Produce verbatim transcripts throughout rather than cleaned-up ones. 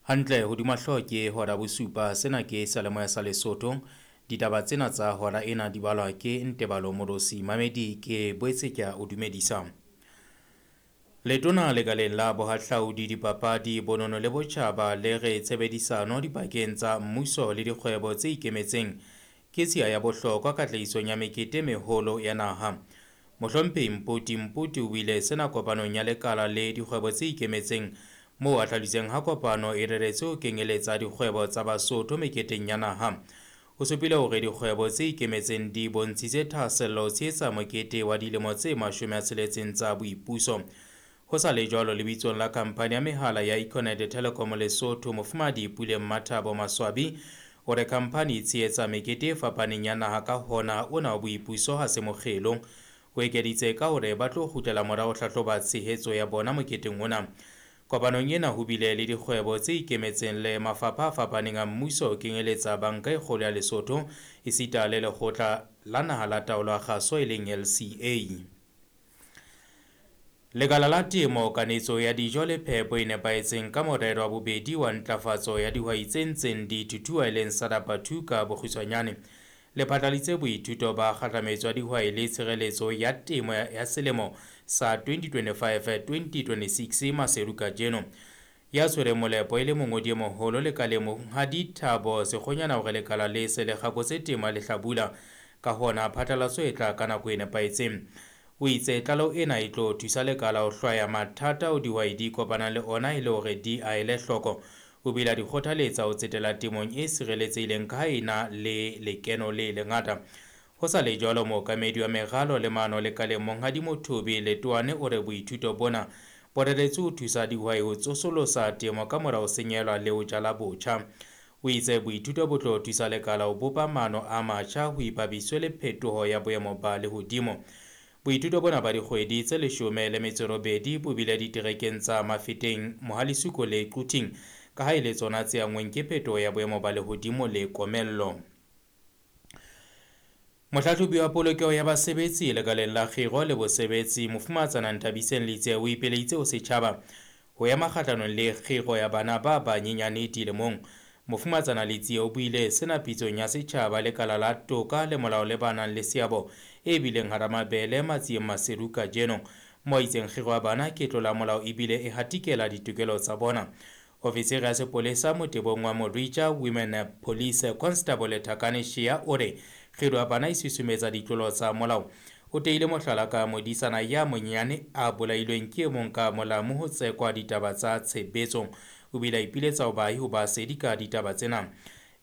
Hantle hodima hlooho ke hora bosupa, sena ke seyalemoya sa Lesotho. Ditaba tsena tsa hora ena di balwa ke Ntebalo Morosi. Mamedi ke boetse ke a o dumedisa. Letona lekaleng la bohahlaudi, dipapadi, bonono le botjhaba le re tshebedisano dipakeng tsa mmuso le dikgwebo tse ikemetseng ke tshiya ya bohlokwa katlehisong ya mekete meholo ya naha. Mohlomphehi Mpoti Mpoti o buile sena kopanong ya lekala le dikgwebo tse ikemetseng moo a hlalositseng ha kopano e reretswe ho kenyeletsa dikgwebo tsa Basotho meketeng ya naha. O supile hore dikgwebo tse ikemetseng di bontshitse thahasello ho tshehetsa mokete wa dilemo tse mashome a tsheletseng tsa boipuso. Ho sa le jwalo, lebitsong la khamphani ya mehala ya Econet Telecom Lesotho, Mofumahadi Puleng Mathabo Maswabi o re khamphani e tshehetsa mekete e fapaneng ya naha, ka hona ona wa boipuso ha se mokgelo. O ekeditse ka hore ba tlo kgutlela morao ho hlahloba tshehetso ya bona moketeng ona. Kopanong ena ho bile le dikgwebo tse ikemetseng le mafapha a fapaneng a mmuso ho kenyeletsa Banka e Kgolo ya Lesotho esita le Lekgotla la Naha la Taolo ya Kgaso e leng L C A. Lekala la temo, kanetso ya dijo le phepo e nepahetseng ka morero wa bobedi wa ntlafatso ya dihwai tse ntseng di thuthuha e leng SADAPA two ka bokgutshwanyane, le phatlaladitse boithuto ba kgahlametso ya dihwai le tshireletso ya temo ya selemo sa twenty twenty-five twenty twenty-six Maseru kajeno. Ya tshwereng molepo e le mongodi e moholo lekaleng Monghadi Thabo Sekgonyana hore lekala le se le kgakotse temo ya lehlabula, ka hona phatlalatso e tla ka nako e nepahetseng. O itse tlaleho ena e tlo thusa lekala ho hlwaya mathata ao dihwai di kopanang le ona e le hore di a ele hloko. O bile a di kgothaletsa ho tsetela temong e sireletsehileng ka ha e na le lekeno le lengata. Ho sa le jwalo, mookamedi wa meralo le maano lekaleng Monghadi Mothobi Letoane o re boithuto bona bo reretswe ho thusa dihwai ho tsosolosa temo ka mora ho senyelwa le ho jala botjha. O itse boithuto bo tlo thusa lekala ho bopa maano a matjha ho ipapiswe le phetoho ya boemo ba lehodimo. Boithuto bona ba dikgwedi tse leshome le metso e robedi bo bile diterekeng tsa Mafeteng, Mohalesuko le Quthing, ka ha e le tsona tse anngweng ke phetoho ya boemo ba lehodimo le komello. Mohlahlobi wa polokeho ya basebetsi lekaleng la kgiro le bosebetsi Mofumahatsana Nthabiseng Letsie o ipeleditse ho setjhaba ho ema kgahlanong le kgiro ya bana ba banyenyane dilemong. Mofumahatsana Letsie o buile sena pitsong ya setjhaba lekala la toka le molao le ba nang le seabo e bileng hara mabele Matsieng Maseru kajeno, mo a itseng kgiro ya bana ke tlola molao ebile e hatikela ditokelo tsa bona. Ofisiri ya sepolesa motebong wa Morija Women Police Constable Thakane Shea o re kgiro ya bana e susumetsa ditlolo tsa molao. O teile mohlala ka modisana ya monyenyane a bolailweng ke e mong ka molamu ho tsekwa ditaba tsa tshebetso. O bile a ipiletsa ho baahi ho ba sedi ka ditaba tsena.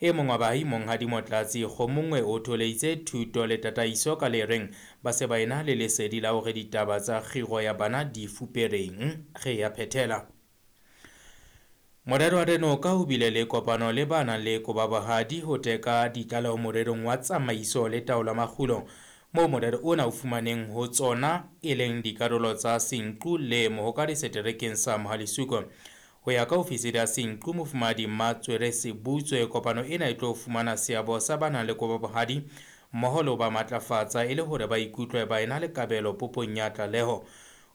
E mong wa baahi Monghadi Motlatsi Kgomongwe o tholeitse thuto le tataiso ka le reng ba se ba ena le lesedi la hore ditaba tsa kgiro ya bana di fupereng. Re ya phethela. Morero wa Renoka o bile le kopano le ba nang le kobabohadi ho teka ditlaleho morerong wa tsamaiso le taolo ya makgulo, moo morero ona o fumaneng ho tsona e leng dikarolo tsa Senqu le Mohokare seterekeng sa Mohalesuko. Ho ya ka ofisiri ya Senqu Mofumahadi Mmatswere Sebutswe, kopano ena e tlo fumana seabo sa ba nang le kobabohadi mmoho le ho ba matlafatsa e le hore ba ikutlwe ba ena le kabelo popong ya tlaleho.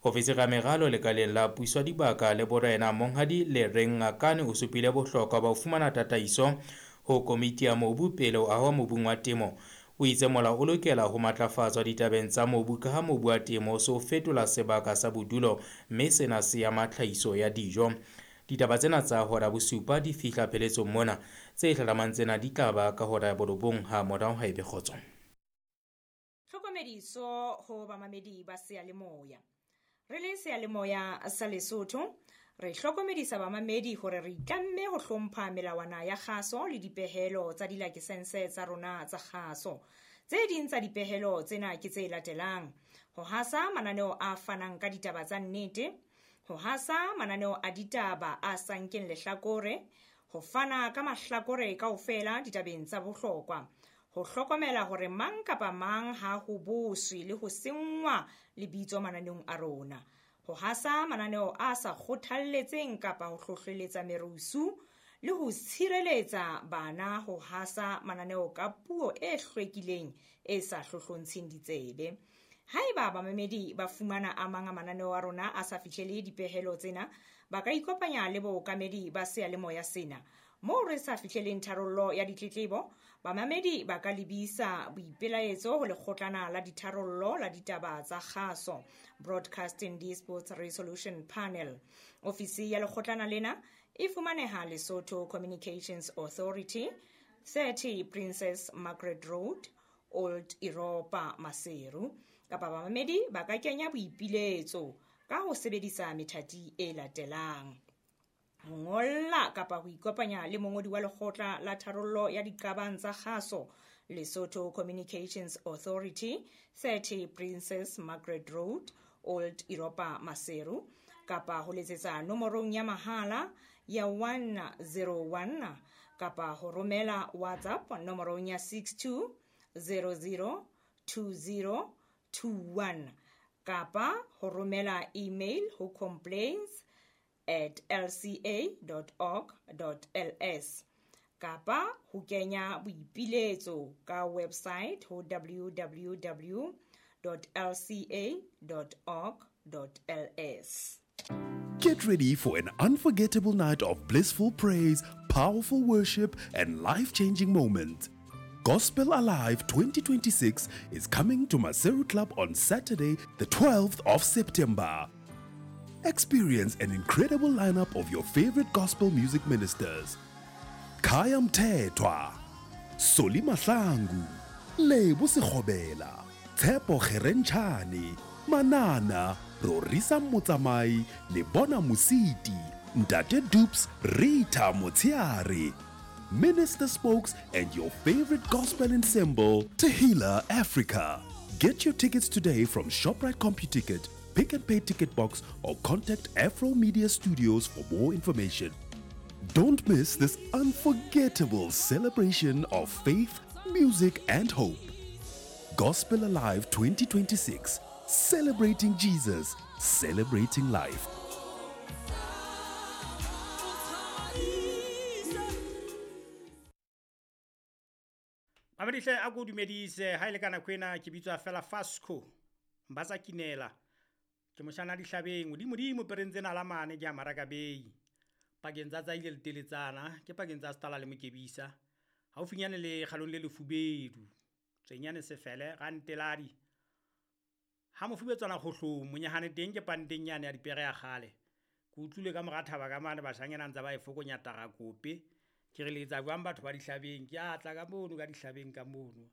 Ofisiri ya meralo lekaleng la puso ya dibaka le borena Monghadi Lereng Ngakane o supile bohlokwa ba ho fumana tataiso ho komiti ya mobu pele ho ahwa mobung wa temo. O itse molao o lokela ho matlafatswa ditabeng tsa mobu ka ha mobu wa temo o so fetola sebaka sa bodulo mme sena se ama tlhahiso ya dijo. Ditaba tsena tsa hora bosupa di fihla pheletsong mona. Tse hlahlamang tsena di tla ba ka hora ya borobong ha morao ha ebe kgotso. Tlhokomediso ho bamamedi ba seyalemoya. Re le seyalemoya sa Lesotho, re hlokomedisa bamamedi hore re itlamme ho hlompha melawana ya kgaso le dipehelo tsa dilakesense tsa rona tsa kgaso. Tse ding tsa dipehelo tsena ke tse latelang: ho hasa mananeo a fanang ka ditaba tsa nnete, ho hasa mananeo a ditaba a sa nkeng lehlakore, ho fana ka mahlakore kaofela ditabeng tsa bohlokwa, ho hlokomela hore mang kapa mang ha ho boswe le ho senngwa lebitso mananeong a rona, ho hasa mananeo a sa kgothalletseng kapa ho hlohleletsa merusu le ho tshireletsa bana ho hasa mananeo ka puo e hlwekileng e sa hlohlontsheng ditsebe. Haeba bamamedi ba fumana a mang a mananeo a rona a sa fihlele dipehelo tsena, ba ka ikopanya le bookamedi ba seyalemoya sena. Moo re sa fihleleng tharollo ya ditletlebo, bamamedi ba ka lebisa boipelaetso ho lekgotlana la ditharollo la ditaba tsa kgaso, Broadcasting Disputes Resolution Panel. Ofisi ya lekgotlana lena e fumaneha Lesotho Communications Authority, thirty Princess Margaret Road, Old Europa, Maseru. Kapa bamamedi ba ka kenya boipiletso ka ho sebedisa methati e latelang: ho ngolla kapa ho ikopanya le mongodi wa lekgotla la tharollo ya diqabang tsa kgaso, Lesotho Communications Authority, thirty Princess Margaret Road, Old Europa, Maseru, kapa ho letsetsa nomorong ya mahala ya one zero one kapa ho romela WhatsApp nomorong ya six two zero zero two zero two one kapa ho romela email ho complaints at l c a dot org dot l s kapa ho kenya boipiletso ka website ho w w w dot l c a dot org dot l s. Get ready for an unforgettable night of blissful praise, powerful worship, and life-changing moments. Gospel Alive twenty twenty-six is coming to Maseru Club on Saturday, the twelfth of September. Experience an incredible lineup of your favorite gospel music ministers. Khaya Mthethwa, Solly Mahlangu, Lebo Sekgobela, Tshepo Kgerentshane, Manana, Rorisa Motsamai, Lebona Mositi, Ntate Dupes, Rita Motiare, Minister Spokes, and your favorite gospel ensemble, Tehila Africa. Get your tickets today from ShopRite CompuTicket, Pick and Pay Ticket Box, or contact Afro Media Studios for more information. Don't miss this unforgettable celebration of faith, music, and hope. Gospel Alive twenty twenty-six, celebrating Jesus, celebrating life. Mamedihle a ko dumedise ha ile kana kwena ke bitswa fela Fasco Mbatsa Kinela ke moshana dihlabeng modimo pereng tsena la mane ke a marakabei pakeng tsa tsa ile leteletsana ke pakeng tsa stala le mokebisa haufinyane le kgalong le lefubedu tsenyane sefele ga nteladi ha mofubetswana kgohlong monyahane teng ke panteng nyane ya dipere ya kgale ke utlwile ka mora thaba ka mane bashanyana ntse ba e fokonya tara kope ke re letsa jwang batho ba dihlabeng ke a tla ka mono ka dihlabeng ka mono